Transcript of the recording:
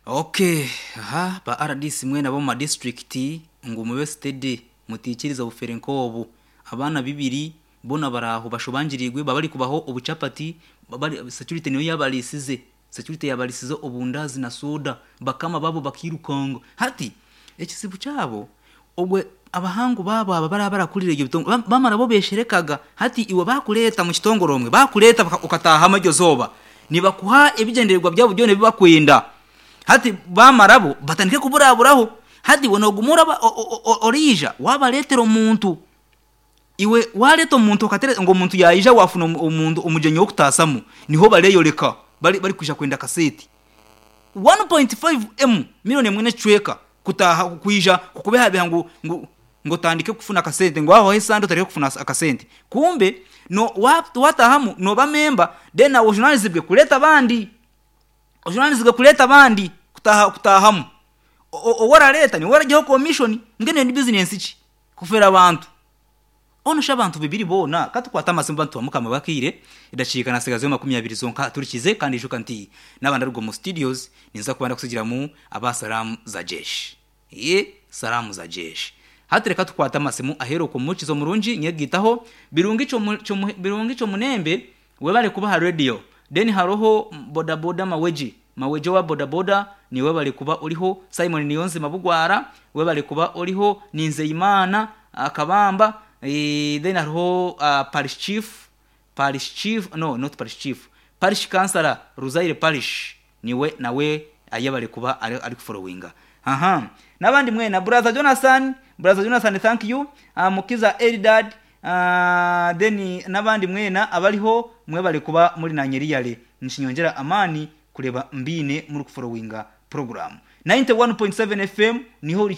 Okay, aha ba RDC mwena ab'omu madistrict ngu mube steady mutiikiriza obufere nk'obu. Abaana bibiri boona bari aho bashobangiriirwe baba barikubaho obuchapati bari security niyo yabarisize. Security yabarisize obundazi na soda bakama babo bakirukanga. Hati ekizibu kyabo obwe abahangu baabo aba baraba barakurira ebyo bitongore bamara bo besherekaga. Hati iwe bakureeta mu kitongore omwe bakureeta okataahamu eryo zooba nibakuha ebigyendererwa byabo byona ebi bakwenda. Hati bamara bo batandike kuburaburaho. Hati iwe noguma oraba oriija wabareetera omuntu. Iwe wareeta omuntu okatereeza ngu omuntu yaija wafuna omuntu omugyenyi w'okutaasamu niho bareeyoreka bari barikwija kwenda akaseeti. 1.5M million emwe n'ekicweka kutaaha kwija kukubehabeha ngu ngu ngu otandike kufuna akasente ngu waahwaho esande otandike kufuna akasente. Kumbe no waataahamu nooba memba then nawe ojunaanizibwe kureeta abandi. Ojunaanizibwe kureeta abandi kutaaha kutaahamu. Ou orareeta niwe oraihaho komishoni. Mbwenu eyo ni bizinensi ki? Kufeera abantu. Onu shi abantu bibiri boona ka tukwate amasimu bantu ba Mukama bakaire edakiika nasigazeho makumiabiri zonka turikize kandi ijuka nti naaba ndaruga omu studios ninza kuba ndakusigiramu aba Salaamu za Jeshi. Eeh Salaamu za Jeshi. Hati reka tukwate amasimu aheeru okwo Mukiza omurungi nyegaitaho Birungi Birungi Kyomunembe webale kuba aha radio then haroho bodaboda Mawegi Mawegi owa bodaboda niiwe webale kuba oriho Simon Niyonzima Bugwara webale kuba oriho Ninzeyimana Kabamba then hariho Parish Chief Parish Chief no not Parish Chief Parish Councillor Ruzaire Parish niwe nawe ayebare kuba ari kuforowinga aha n'abandi mwena Brother Jonathan Brother Jonathan thank you Mukiza Eldad then n'abandi mwena abariho mwebare kuba muri nanye riyale nikinyongyera amaani kureeba mbaine muri kuforowinga puroguraamu 91.7 FM niho.